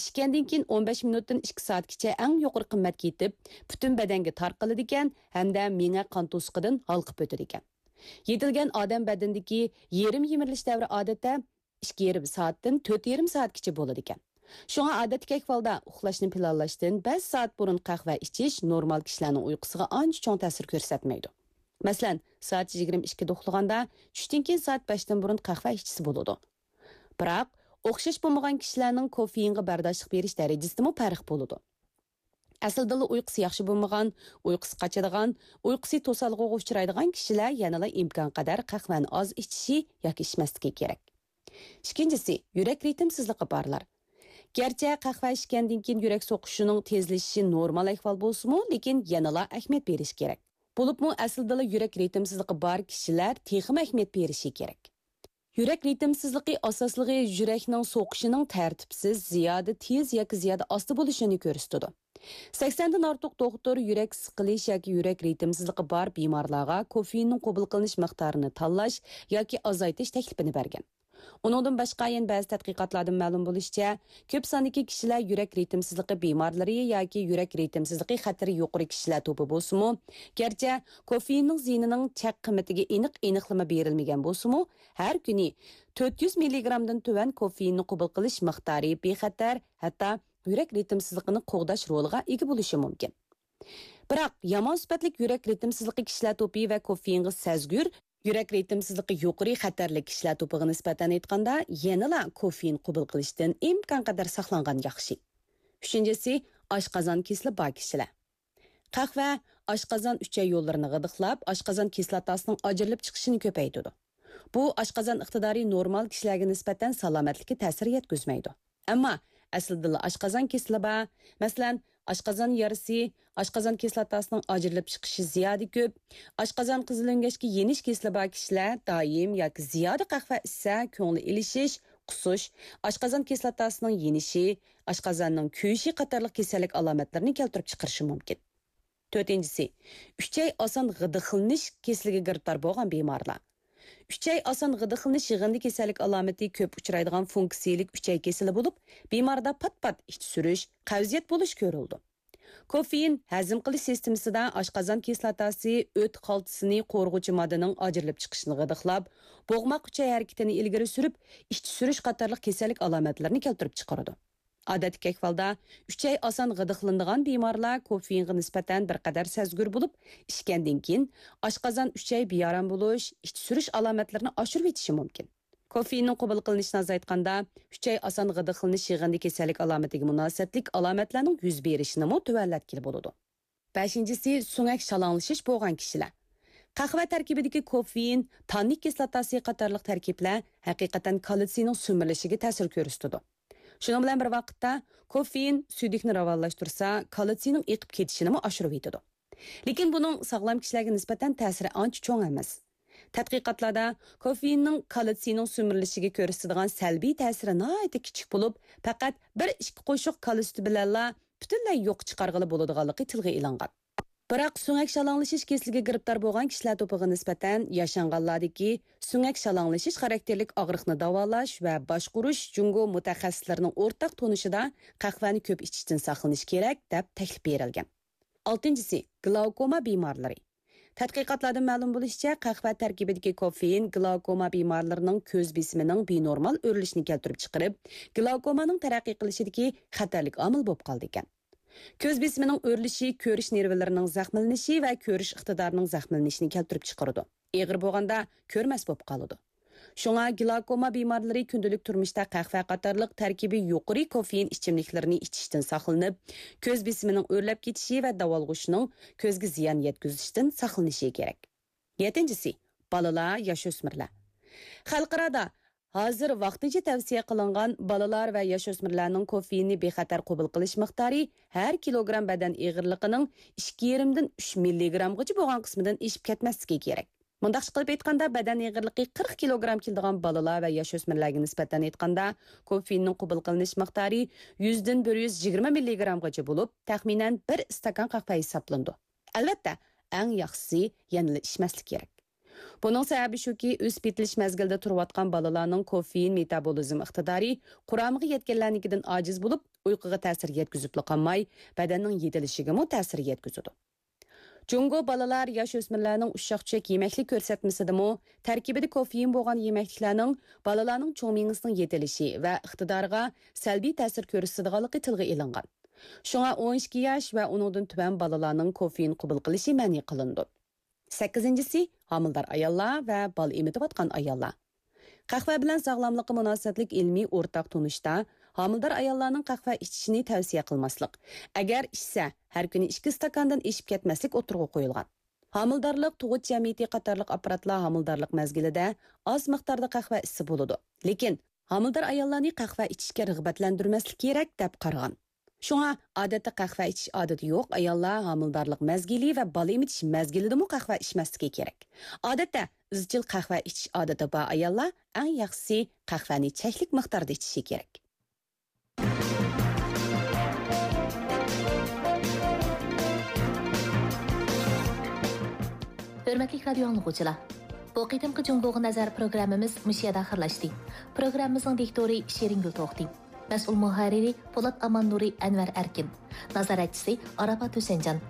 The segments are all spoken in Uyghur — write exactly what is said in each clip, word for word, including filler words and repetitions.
ئىچكەندىن كېيىن ئون بەش مىنۇتتىن ئىككى سائەتكىچە ئەڭ يۇقىرى قىممەتكە يېتىپ، پۈتۈن بەدەنگە تارقىلىدىكەن ھەمدە مېڭە قان توسۇقىدىن ھالقىپ ئۆتىدىكەن. يېتىلگەن ئادەم بەدىنىدىكى يېرىم يېمىرىلىش دەۋرى ئادەتتە ئىككى يېرىم سائەتتىن تۆت يېرىم سائەتكىچە بولىدىكەن. شۇڭا ئادەتتىكى ئەھۋالدا ئۇخلاشنى پىلانلاشتىن بەش سائەت بۇرۇن قەھۋە ئىچىش نورمال كىشىلەرنىڭ ئۇيقۇسىغا ئانچە چوڭ تەسىر كۆرسەتمەيدۇ. مەسىلەن، سائەت يىگىرمە ئىككىدە ئۇخلىغاندا چۈشتىن كېيىن سائەت بەشتىن بۇرۇن قەھۋە ئىچسە بولىدۇ. بىراق، ئوخشاش بولمىغان كىشىلەرنىڭ كوفېئىنغا بەرداشلىق بېرىش دەرىجىسىدىمۇ پەرق بولىدۇ. ئەسلىدىلا ئۇيقۇسى ياخشى بولمىغان، ئۇيقۇسى قاچىدىغان، ئۇيقۇسى توسالغۇغا ئۇچرايدىغان كىشىلەر يەنىلا ئىمكانقەدەر قەھۋەنى ئاز ئىچىشى ياكى ئىچمەسلىكى كېرەك. ئىككىنچىسى، يۈرەك رىتىمسىزلىقى بارلار. گەرچە قەھۋە ئىچكەندىن كېيىن يۈرەك سوقۇشىنىڭ تېزلىشىشى نورمال ئەھۋال بولسىمۇ، لېكىن يەنىلا ئەھمىيەت بېرىش كېرەك. بولۇپمۇ ئەسلىدىلا يۈرەك رىتىمسىزلىقى بار كىشىلەر تېخىمۇ ئەھمىيەت بېرىشى كېرەك. يۈرەك رىتىمسىزلىقى ئاساسلىقى يۈرەكنىڭ سوقۇشىنىڭ تەرتىپسىز، زىيادە تېز ياكى زىيادە ئاستا بولۇشىنى كۆرسىتىدۇ. سەكسەندىن ئارتۇق دوختۇر يۈرەك سىقىلىش ياكى يۈرەك رىتىمسىزلىقى بار بىمارلارغا كوفېئىننىڭ قوبۇل قىلىنىش مىقدارىنى تاللاش ياكى ئازايتىش تەكلىپىنى بەرگەن. ئۇنىڭدىن باشقا يەنە بەزى تەتقىقاتلاردىن مەلۇم بولۇشىچە، كۆپ ساندىكى كىشىلەر يۈرەك رىتىمسىزلىقى بىمارلىرى ياكى يۈرەك رىتىمسىزلىقى خەتىرى يۇقىرى كىشىلەر توپى بولسىمۇ، گەرچە كوفېئىننىڭ زىيىنىنىڭ چەك قىممىتىگە ئېنىق ئېنىقلىما بېرىلمىگەن بولسىمۇ، ھەر كۈنى تۆت يۈز مىللىگرامدىن تۆۋەن كوفېئىننى قوبۇل قىلىش مىقدارى بىخەتەر، ھەتتا يۈرەك رىتىمسىزلىقىنى قوغداش رولىغا ئىگە بولۇشى مۇمكىن. بىراق، يامان سۈپەتلىك يۈرەك رىتىمسىزلىقى كىشىلەر توپى ۋە كوفېئىنغا سەزگۈر، يۈرەك رىتىمسىزلىقى يۇقىرى خەتەرلىك كىشىلەر توپىغا نىسبەتەن ئېيتقاندا، يەنىلا كوفېئىن قوبۇل قىلىشتىن ئىمكانقەدەر ساقلانغان ياخشى. ئۈچىنچىسى، ئاشقازان كېسىلى بار كىشىلەر. قەھۋە ئاشقازان ئۈچەي يوللىرىنى غىدىقلاپ، ئاشقازان كىسلاتاسىنىڭ ئاجرىلىپ چىقىشىنى كۆپەيتىدۇ. بۇ ئاشقازان ئىقتىدارى نورمال كىشىلەرگە نىسبەتەن سالامەتلىككە تەسىر يەتكۈزمەيدۇ. ئەمما ئەسلىدىلا ئاشقازان كېسىلى بار، مەسىلەن، ئاشقازان يارىسى، ئاشقازان كىسلاتاسىنىڭ ئاجرىلىپ چىقىشى زىيادە كۆپ، ئاشقازان قىزىل ئۆڭگەچكە يېنىش كېسىلى بار كىشىلەر دائىم ياكى زىيادە قەھۋە ئىچسە، كۆڭلى ئېلىشىش، قۇسۇش، ئاشقازان كىسلاتاسىنىڭ يېنىشى، ئاشقازاننىڭ كۆيۈشى قاتارلىق كېسەللىك ئالامەتلىرىنى كەلتۈرۈپ چىقىرىشى مۇمكىن. تۆتىنچىسى، ئۈچەي ئاسان غىدىقلىنىش كېسىلىگە گىرىپتار بولغان بىمارلار. ئۈچەي ئاسان غىدىقلىنىش يىغىندى كېسەللىك ئالامىتى كۆپ ئۇچرايدىغان فۇنكسىيىلىك ئۈچەي كېسىلى بولۇپ، بىماردا پات-پات ئىچ سۈرۈش، قەۋزىيەت بولۇش كۆرۈلىدۇ. كوفېئىن ھەزىم قىلىش سىستېمىسىدا ئاشقازان كىسلاتاسى ئۆت خالتىسىنى قورۇغۇچى ماددىنىڭ ئاجرىلىپ چىقىشىنى غىدىقلاپ، بوغماق ئۈچەي ھەرىكىتىنى ئىلگىرى سۈرۈپ، ئىچ سۈرۈش قاتارلىق كېسەللىك ئالامەتلىرىنى كەلتۈرۈپ چىقىرىدۇ. ئادەتتىكى ئەھۋالدا، ئۈچەي ئاسان غىدىقلىنىدىغان بىمارلار كوفېئىنغا نىسبەتەن بىر قەدەر سەزگۈر بولۇپ، ئىچكەندىن كېيىن ئاشقازان ئۈچەي بىئارام بولۇش، ئىچ سۈرۈش ئالامەتلىرىنى ئاشۇرۇۋېتىشى مۇمكىن. كوفېئىننىڭ قوبۇل قىلىنىشىنى ئازايتقاندا، ئۈچەي ئاسان غىدىقلىنىش يىغىندى كېسەللىك ئالامىتىگە مۇناسىۋەتلىك ئالامەتلەرنىڭ يۈز بېرىشىنىمۇ تۆۋەنلەتكىلى بولىدۇ. بەشىنچىسى، سۆڭەك شالاڭلىشىش بولغان كىشىلەر. قەھۋە تەركىبىدىكى كوفېئىن، تاننىك كىسلاتاسى قاتارلىق تەركىبلەر ھەقىقەتەن كالتسىينىڭ سۈمۈرۈلۈشىگە تەسىر كۆرسىتىدۇ. شۇنىڭ بىلەن بىر ۋاقىتتا، كوفېئىن سۈيدۈكنى راۋانلاشتۇرسا، كالتسىينىڭ ئېقىپ كېتىشىنىمۇ ئاشۇرۇۋېتىدۇ. لېكىن بۇنىڭ ساغلام كىشىلەرگە نىسبەتەن تەسىرى ئانچە چوڭ ئەمەس. تەتقىقاتلاردا كوفېئىننىڭ كالتسىينىڭ سۈمۈرۈلۈشىگە كۆرسىتىدىغان سەلبىي تەسىرى ناھايىتى كىچىك بولۇپ، پەقەت بىر ئىككى قوشۇق كالا سۈتى بىلەنلا پۈتۈنلەي يوققا چىقارغىلى بولىدىغانلىقى تىلغا ئېلىنغان. بىراق سۆڭەك شالاڭلىشىش كېسىلىگە گىرىپتار بولغان كىشىلەر توپىغا نىسبەتەن ياشانغانلاردىكى سۆڭەك شالاڭلىشىش خاراكتېرلىك ئاغرىقنى داۋالاش ۋە باشقۇرۇش جۇڭگو مۇتەخەسسىسلىرىنىڭ ئورتاق تونۇشىدا قەھۋەنى كۆپ ئىچىشتىن ساقلىنىش كېرەك، دەپ تەكلىپ بېرىلگەن. ئالتىنچىسى، گلاۋكوما بىمارلىرى. تەتقىقاتلاردىن مەلۇم بولۇشىچە، قەھۋە تەركىبىدىكى كوفېئىن گلاۋكوما بىمارلىرىنىڭ كۆز بېسىمىنىڭ بىنورمال ئۆرلىشىنى كەلتۈرۈپ چىقىرىپ، گلاۋكومانىڭ تەرەققىي قىلىشىدىكى خەتەرلىك ئامىل بولۇپ قالىدىكەن. كۆز بېسىمىنىڭ ئۆرلىشى كۆرۈش نېرۋىلىرىنىڭ زەخىملىنىشى ۋە كۆرۈش ئىقتىدارىنىڭ زەخىملىنىشىنى كەلتۈرۈپ چىقىرىدۇ. ئېغىر بولغاندا كۆرمەس بولۇپ قالىدۇ. شۇڭا گلاكوما بىمارلىرى كۈندىلىك تۇرمۇشتا قەھۋە قاتارلىق تەركىبى يۇقىرى كوفېئىن ئىچىملىكلىرىنى ئىچىشتىن ساقلىنىپ، كۆز بېسىمىنىڭ ئۆرلەپ كېتىشى ۋە داۋالغۇشىنىڭ كۆزگە زىيان يەتكۈزۈشتىن ساقلىنىشى كېرەك. يەتتىنچىسى، بالىلار، ياش ئۆسمۈرلەر. خەلقئارادا ھازىر ۋاقتىنچە تەۋسىيە قىلىنغان بالىلار ۋە ياش ئۆسمۈرلەرنىڭ كوفېئىننى بىخەتەر قوبۇل قىلىش مىقدارى ھەر كىلوگرام بەدەن ئېغىرلىقىنىڭ ئىككى يېرىمدىن ئۈچ مىللىگرامغىچە بولغان قىسمىدىن ئېشىپ كەتمەسلىكى كېرەك. مۇنداقچە قىلىپ ئېيتقاندا، بەدەن ئېغىرلىقى قىرىق كىلوگرام كېلىدىغان بالىلار ۋە ياش ئۆسمۈرلەرگە نىسبەتەن ئېيتقاندا، كوفېئىننىڭ قوبۇل قىلىنىش مىقدارى يۈزدىن بىر يۈز يىگىرمە مىللىگرامغىچە بولۇپ، تەخمىنەن بىر ئىستاكان قەھۋە ھېسابلىنىدۇ. ئەلۋەتتە، ئەڭ ياخشىسى يەنىلا ئىچمەسلىك كېرەك. بۇنىڭ سەۋەبى شۇكى، ئۆسۈپ يېتىلىش مەزگىلىدە تۇرۇۋاتقان بالىلارنىڭ كوفېئىن مېتابولىزم ئىقتىدارى قۇرامىغا يەتكەنلەرنىڭكىدىن ئاجىز بولۇپ، ئۇيقۇغا تەسىر يەتكۈزۈپلا قالماي، بەدەننىڭ يېتىلىشىگىمۇ تەسىر يەتكۈزىدۇ. جۇڭگو بالىلار، ياش ئۆسمۈرلەرنىڭ ئۇششاق-چۈشەك يېمەكلىك كۆرسەتمىسىدىمۇ تەركىبىدە كوفېئىن بولغان يېمەكلىكلەرنىڭ بالىلارنىڭ چوڭ مېڭىسىنىڭ يېتىلىشى ۋە ئىقتىدارىغا سەلبىي تەسىر كۆرسىتىدىغانلىقى تىلغا ئېلىنغان. شۇڭا ئون ئىككى ياش ۋە ئۇنىڭدىن تۆۋەن بالىلارنىڭ كوفېئىن قوبۇل قىلىشى مەنئى قىلىنىدۇ. سەككىزىنچىسى، ھامىلىدار ئاياللار ۋە بالا ئېمىتىۋاتقان ئاياللار. قەھۋە بىلەن ساغلاملىققا مۇناسىۋەتلىك ئىلمىي ئورتاق تونۇشتا ھامىلىدار ئاياللارنىڭ قەھۋە ئىچىشىنى تەۋسىيە قىلماسلىق. ئەگەر ئىچسە، ھەر كۈنى ئىككى ئىستاكاندىن ئېشىپ كەتمەسلىك ئوتتۇرىغا قويۇلغان. ھامىلىدارلىق، تۇغۇت جەمئىيىتى قاتارلىق ئاپپاراتلار ھامىلىدارلىق مەزگىلىدە ئاز مىقداردا قەھۋە ئىچسە بولىدۇ. لېكىن ھامىلىدار ئاياللارنى قەھۋە ئىچىشكە رىغبەتلەندۈرمەسلىك كېرەك، دەپ قارىغان. شۇڭا، ئادەتتە قەھۋە ئىچىش ئادىتى يوق ئاياللار ھامىلىدارلىق مەزگىلى ۋە بالا ئېمىتىش مەزگىلىدىمۇ قەھۋە ئىچمەسلىكى كېرەك. ئادەتتە، ئىزچىل قەھۋە ئىچىش ئادىتى بار ئاياللار ئەڭ ياخشىسى قەھۋەنى چەكلىك مىقداردا ئىچىشى كېرەك. ھۆرمەتلىك رادىيو ئاڭلىغۇچىلار، بۇ قېتىمقى جۇڭگوغا نەزەر پروگراممىمىز مۇشۇ يەردە ئاخىرلاشتى. پروگراممىمىزنىڭ دىكتورى شېرىنگۈل توختى. مەسئۇل مۇھەررىرى پولات ئاماننۇرى، ئەنۋەر ئەركىن. نازارەتچىسى ئاراپات ھۈسەنجان.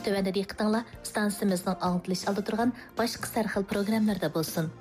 تۆۋەندە دىققىتىڭلار ئىستانسىمىزنىڭ ئاڭلىتىلىش ئالدىدا تۇرغان باشقا سەرخىل پروگراممىلىرىدا بولسۇن.